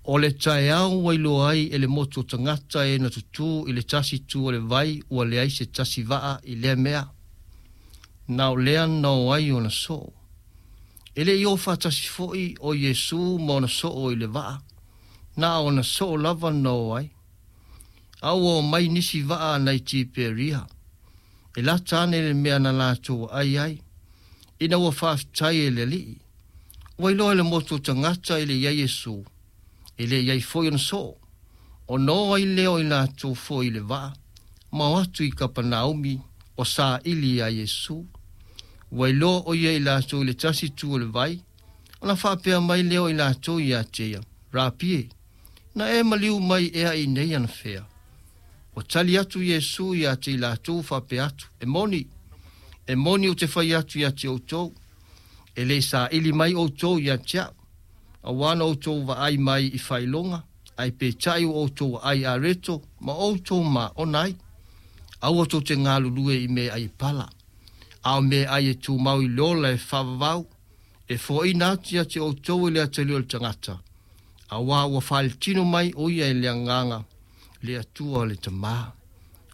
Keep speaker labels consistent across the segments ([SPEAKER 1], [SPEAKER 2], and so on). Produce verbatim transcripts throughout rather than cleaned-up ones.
[SPEAKER 1] O le taeao ua iloa ai e le motu o tagata e na tutū i le tasi itu o le vai ua leai se tasi vaa i lea mea. Na o lea na o ai ona soo. E le i o faatasi foi o Iesu ma ona soo i le vaa. Na ona soo lava na o ai. A ua omai nisi vaa nai Tiperia. E lata ane le mea na latou ai ai. Ina ua faafetai e le Alii. Ua iloa e le motu o tagata e le i ai Iesu. E le i ai foi ona soo. Ona o ai lea o i latou foi i le vaa. Ma o atu i Kapanaumi o saili ia Iesu. Ua iloa o ia i latou i le tasi itu o le vai. Ona faapea mai lea o i latou ia te ia. Rapi e, na e maliu mai ea i nei anafea. Ua tali atu Iesu ia te i latou faapea atu. E moni, e moni ou te fai atu ia te outou. E le saili mai outou ia te au. Auā na outou vaai mai i faailoga, ae peitai ua outou vaai areto ma outou maona ai. Aua tou te galulue i meaai e pala. A o meaai e tumau i le ola e faavavau, e foaina atu ia te outou e le Atalii o le tagata. Auā ua faaletino mai o ia e le Agaga le Atua le Tamā.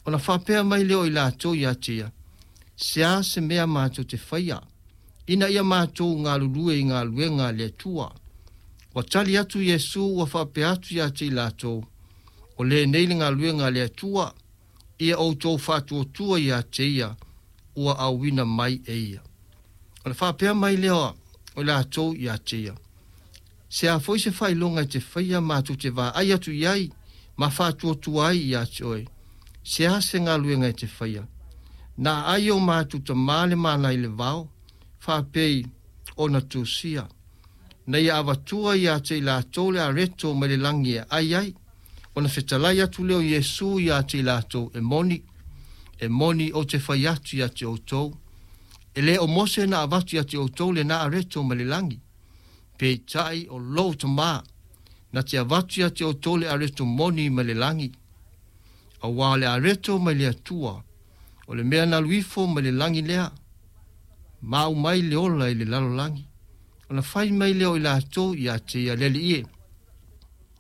[SPEAKER 1] Ona faapea mai lea o i latou ia te ia, se a se mea matou te faia, ina ia matou galulue i galuega a le Atua. Ua tali atu Iesu ua faapea atu ia te i latou, o lenei le galuega a le Atua, ia outou faatuatua ia te ia, ua auina mai e ia. Ona faapea mai lea o i latou ia te ia, se a foi se faailoga e te faia matou te vaai atu i ai, ma faatuatua ai ia te oe, se a se galuega e te faia. Na ai o matou tamā le mana i le vao, faapei ona tusia. Na ia avatua ia te i latou le areto mai le lagi e ai ai. Ona fetalai atu lea o Iesu ia te i latou e moni. E moni ou te fai atu ia te outou. E le o Mose na avatu ia te outou lena areto mai le lagi. Peitai o lou Tamā na te avatu ia te outou le areto moni mai le lagi. Auā le areto mai le Atua, o le mea na alu ifo mai le lagi lea, ma aumai le ola i le lalolagi. Ona fai mai lea o i latou ia te ia, Le Alii e,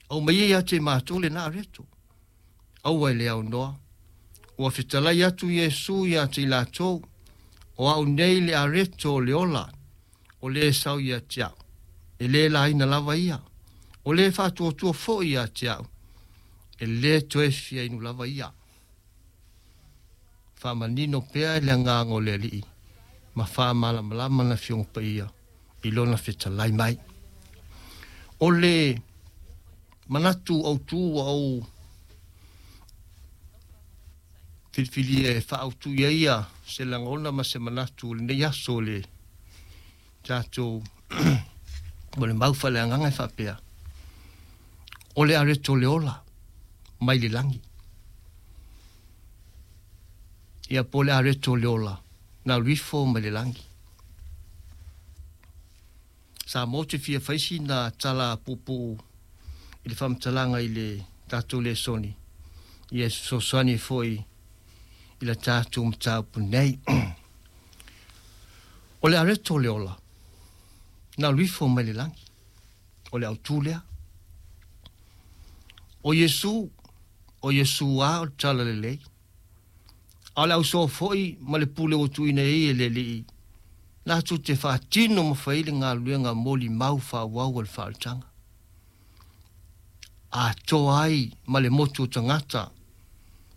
[SPEAKER 1] aumai ia ia te matou lena areto. Aua e le aunoa. Ua fetalai atu Iesu ia te i latou, o au nei le areto o le ola, o le sau ia te au. E le laina lava ia. O le faatuatua foi ia te au. E le toe fia inu lava ia. Faamanino pea le Agaga o le Alii, ma faamalamalama na Afioga Paia i lona fetalai mai. O le manatu autu ua ou filifilia e faaautu i ai ia se lagona ma se manatu o lenei aso o le tatou mo le mau faaleagaga e faapea. O le areto le ola mai le lagi. Ia po le areto le ola na alu ifo mai le lagi. Sa mo te fia faisi na tala puupuu i le faamatalaga i le tatou lesoni. Ia fesoasoani foi i la tatou mataupu nei. O le areto le ola na alu ifo mai le lagi. O le autu lea. O Iesu, o Iesu a o le tala lelei. A o le ausoo foi ma le pule ua tuuina i ai e le Alii, latou te faatino ma fai le galuega molimau faaauau a le faaolataga. Atoa ai ma le motu o tagata,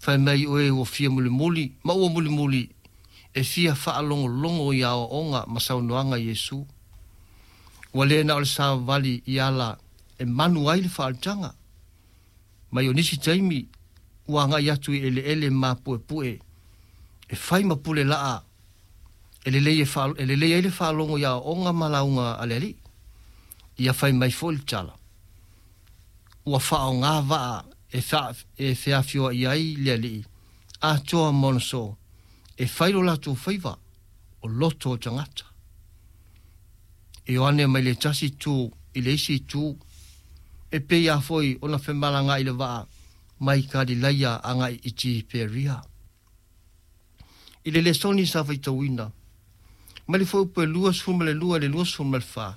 [SPEAKER 1] fai mai o e ua fia mulimuli ma ua mulimuli e fia faalogologo i aoaoga ma saunoaga a Iesu. Ua le na o le savavali i ala e manu ai le faaolataga. Mai o nisi taimi ua agai atu i eleele mapuepue e fai ma pule laa e lelei e faalo, e lelei ai le faalogo i aoaoga ma lauga a le Alii. Ia fai mai foi le tala. Ua faaaoga vaa e fa, e feafioai ai le Alii atoa ma ona soo e fai lo latou faiva o loto o tagata. E o ane mai le tasi itu i le isi itu e pei lava foi ona femalagaai le vaa mai Kalilaia agai i Tiperia. I le lesoni sa faitauina mai le fuaiupu e luasefulu ma le lua i le luasefulu ma le fa,